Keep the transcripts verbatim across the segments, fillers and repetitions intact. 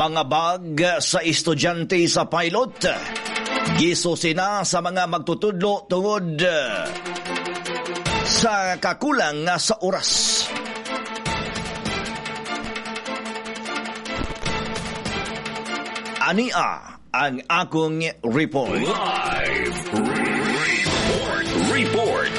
Mga bag sa estudyante sa pilot, gisusi na sa mga magtutudlo tungod sa kakulang sa oras. Ania ang akong report. Live Report. Report.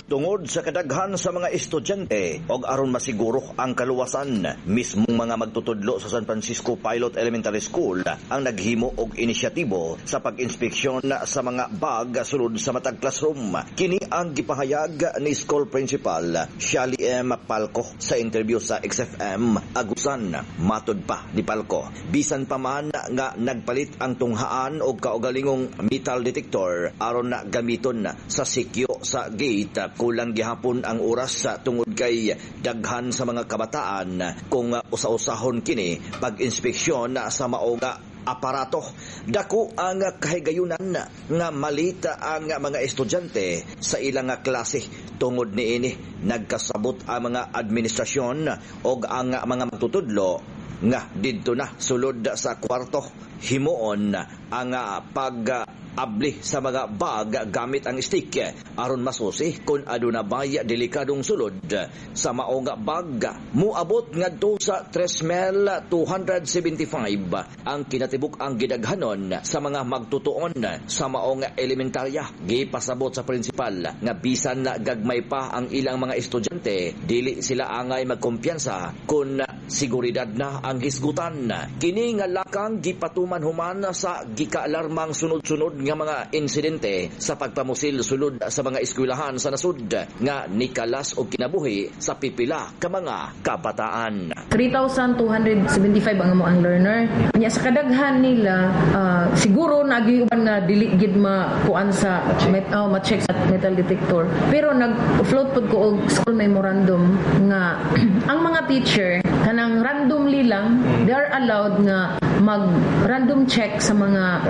Tungod sa kadaghan sa mga estudyante og aron masiguro ang kaluwasan, mismong mga magtutudlo sa San Francisco Pilot Elementary School ang naghimo og inisyatibo sa pag-inspeksyon sa mga bag sulod sa matag classroom. Kini ang gipahayag ni school principal Shali M. Palco sa interview sa X F M Agusan. Matod pa ni Palco, bisan pa man nga nagpalit ang tunghaan og kaugalingong metal detector aron na gamiton sa sikyo sa gate, kulang gihapon ang oras sa tungod kay daghan sa mga kabataan kung usa-usahon kini pag-inspeksyon sa maoga aparato. Dako ang kahigayunan nga malita ang mga estudyante sa ilang klase. Tungod niini, nagkasabot ang mga administrasyon og ang mga magtutudlo nga didto na sulod sa kwarto himuon ang pag abli sa mga bag gamit ang stick aron masusi kung aduna bay delikadong sulod sa maong bag. Muabot ngadto sa three thousand two hundred seventy-five ang kinatibuk ang gidaghanon sa mga magtutuon sa maong elementarya. Gipasabot sa principal nga bisan na gagmay pa ang ilang mga estudyante, dili sila angay magkumpiyansa kung siguridad na ang hisgutan. Kini nga lakang gipatuman human sa gikaalarmang sunod-sunod nga mga insidente sa pagpamusil sulod sa mga eskwelahan sa nasud nga nikalas og kinabuhi sa pipila ka mga kabataan. three thousand two hundred seventy-five ang among learner. Nya sa kadaghan nila, uh, siguro nagiuban nga dili gid makuan sa met, oh, ma-check sa metal detector. Pero nag-float pod ko og school memorandum nga ang mga teacher kanang randomly lang they are allowed nga mag random check sa mga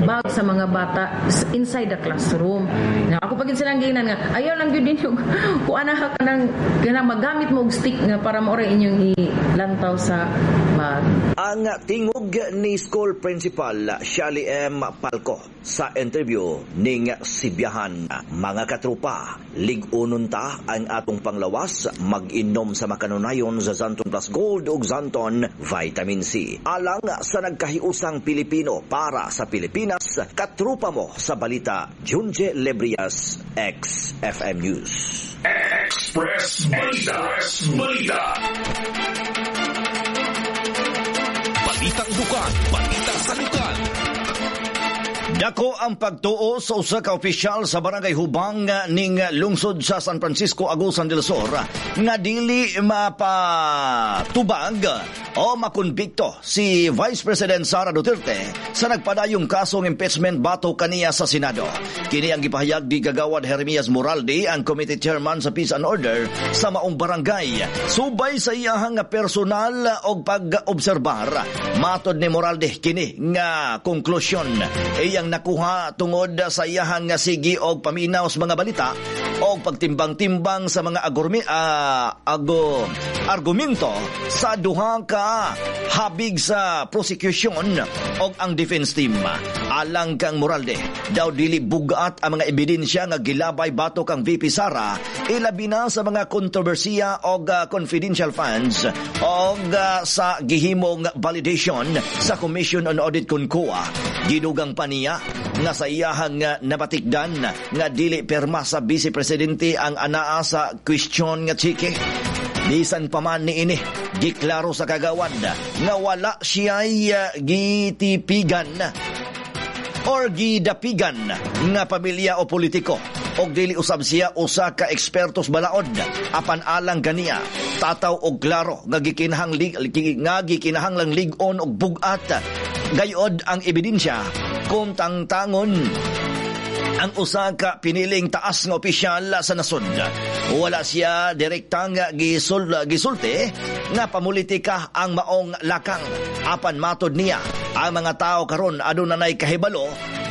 bag sa mga bata inside the classroom. Mm. Ako pag silang ginan nga ayaw lang gyud ninyo kuan na kanang kanang magamit mo og stick nga para maoray inyong ilantaw sa bag. Ang tingog ni school principal Shali M. Palco sa interview ning Sibiyahan. Mga katrupa, lig-unon ta ang atong panglawas, mag-inom sa makanunayon sa Xanthone Plus Gold ug Xanthone Vitamin C. Alang sa nagkahiusang Pilipino para sa Pilipinas, katrupa mo sa balita, Junje Lebrias, X F M News. Express Balita. Express Balita. Balitang dukan, balita sa lukan. Dako ang pagtuo sa usa ka opisyal sa Barangay Hubang ning lungsod sa San Francisco, Agusan del Sur nga dili mapatubag o makonbikto si Vice President Sara Duterte sa nagpadayong kasong impeachment bato kaniya sa Senado. Kini ang gipahayag ni Gagawad Jeremias Moralde, ang committee chairman sa Peace and Order sa maong barangay. Subay sa iyahang personal og pag-obserbar, matod ni Moralde kini nga konklusyon iyang nakuha tungod sa iyahang nga sige og paminaw sa mga balita og pagtimbang-timbang sa mga agurmi, uh, ago, argumento sa duha ka habig sa prosecution og ang defense team. Alang kang Moralde, daw dili bugat ang mga ebidensya nga gilabay batok ang V P Sara, ilabi na sa mga kontrobersiya og uh, confidential funds og uh, sa gihimong validation sa Commission on Audit kon C O A. Gidugang pa niya nga sa iyahang nabatikdan nga dili perma sa Vice Presidente ang anaa sa question nga chike. Bisan pa man niini, giklaro sa kagawad nga wala siya'y gitipigan or gidapigan nga pamilya o politiko og dili usab siya usa ka ekspertos balaod. Apan alang kaniya, tataw og klaro nga gikinahang lig, nga gikinahanglang lig-on og bug-at gayod ang ebidensya kung tangtangon ang usa ka piniling taas nga opisyal sa nasod. Wala siya direktang gisul, gisulti nga pamulitika ang maong lakang. Apan matod niya, ang mga tao karon aduna nay kahibalo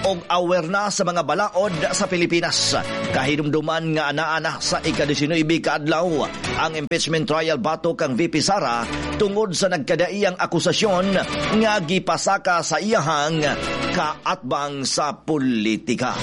Og aware na sa mga balaod sa Pilipinas. Kahinumduman nga anaa sa ika-nineteen kaadlaw ang impeachment trial batok kang V P Sara tungod sa nagkadaiyang akusasyon nga gipasaka sa iyahang kaatbang sa politika.